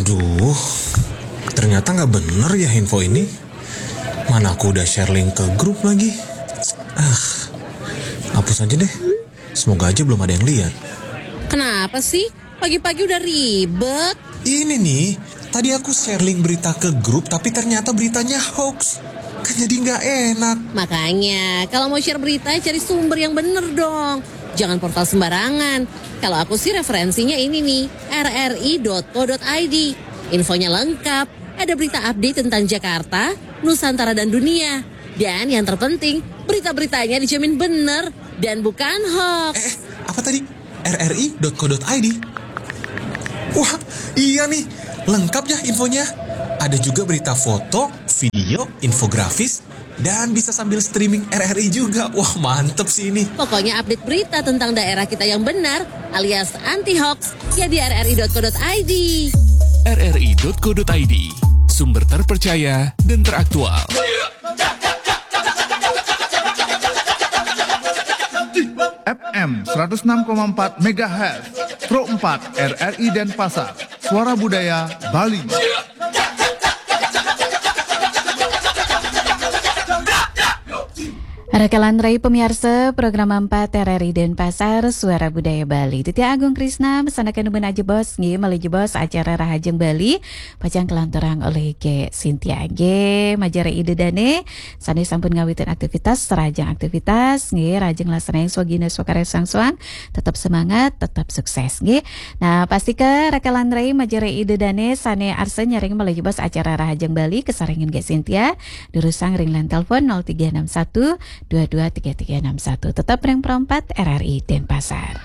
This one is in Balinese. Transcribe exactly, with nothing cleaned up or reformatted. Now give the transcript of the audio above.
Duh, ternyata nggak bener ya info ini. Mana aku udah share link ke grup lagi. Ah, hapus aja deh. Semoga aja belum ada yang lihat. Kenapa sih? Pagi-pagi udah ribet. Ini nih, tadi aku share link berita ke grup tapi ternyata beritanya hoax. Kan jadi nggak enak. Makanya, kalau mau share berita, cari sumber yang bener dong. Jangan portal sembarangan. Kalau aku sih referensinya ini nih, R R I dot co dot I D. Infonya lengkap, ada berita update tentang Jakarta, Nusantara dan dunia. Dan yang terpenting, berita-beritanya dijamin bener dan bukan hoax. Eh, apa tadi? R R I dot co dot I D. Wah, iya nih, lengkap ya infonya. Ada juga berita foto, video, infografis, dan bisa sambil streaming R R I juga. Wah, mantep sih ini. Pokoknya update berita tentang daerah kita yang benar alias anti hoax ya di R R I dot co dot I D. R R I dot co dot I D, sumber terpercaya dan teraktual. F M seratus enam koma empat megahertz, Pro empat R R I Denpasar, Suara Budaya Bali. Rakalan rai pemirsa program empat R R I Denpasar, Suara Budaya Bali. Titi Agung Krisna mesanakan numbun ajebos nggih, malih jebos acara Rahajeng Bali pacang kalanturang olih Gék Sintia nggih. Majeng rai Ida Dané sané sampun ngawitin aktivitas, rahajeng aktivitas nggih, rahajeng nglaksanayang swagina swakarya soang-soang, tetep semangat, tetep sukses nggih. Nah, pastika rakalan rai majeng rai Ida Dané sané arsa nyarengin malih jebos acara Rahajeng Bali kasarengin Gék Sintia, durusang ring line telepon nol tiga enam satu dua dua tiga tiga enam satu. Tetep ring Pro empat R R I Denpasar.